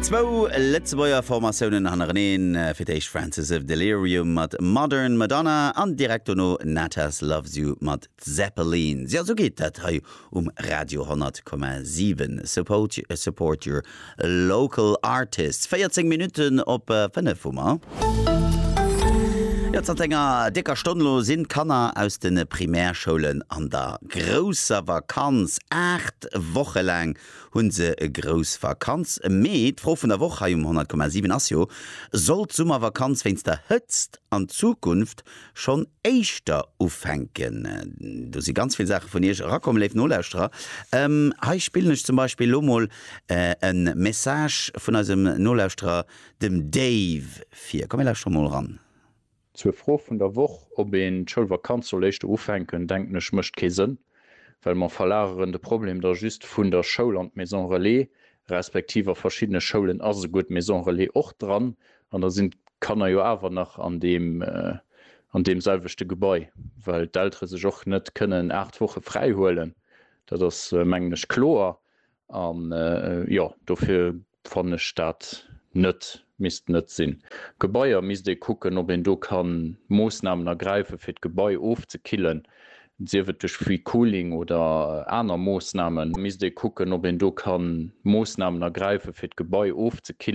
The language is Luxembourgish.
Zwou Lëtzebuerger Formatiounen hannereneen, fir d'éischt Francis of Delirium mat Modern Madonna an direkt dono Natas Loves You mat Zeppelins. Jo, sou geet dat hei um Radio 100,7. Support, support your local artists. 14 Minutten op 5 hu mer. Jo, zanter enger décker Stonn elo sinn d'Kanner aus de Primärschoulen an der grousser Vakanz. 8 Woche laang hu se grouss Vakanz. Mee d'Fro vun der Woch hei um 100,7 ass jo, Soll d'Summervakanz wéinst der Hëtzt an Zukunft schonn éischter ufänken. Do si ganz vill Saache vun Iech erakomm, léif Nolauschterer. Hei spillen ech zum Beispill elo mol e Message vun eisem Nolauschterer, dem Dave, vir. Komm mir lauschtere mol eran. Zur Fro vun der Woch, ob een d'Schoulvakanz soll éischter ufänken, denken ech mécht kee Sënn, well mer verlageren de Problem da just vun der Schoul an d'Maison Relais, respektiv a verschiddene Schoulen ass esouguer d'Maison Relais och dran an da sinn d'Kanner jo awer nach an deem, an deem selwechte Gebai, well d'Eltere sech och net kënnen 8 Woche fräi huelen. Dat ass, mengen ech, kloer. An, jo, dofir fannen ech dat net, misst net sinn. Gebaier misst ee kucken, ob een do ka Moossnamen ergräifen, fir d'Gebai ofzekillen, sief et duerch Free Cooling oder aner Moossnamen. Misst ee kucken, ob een do ka Moossnamen ergräifen, fir d'Gebai ofzekillen.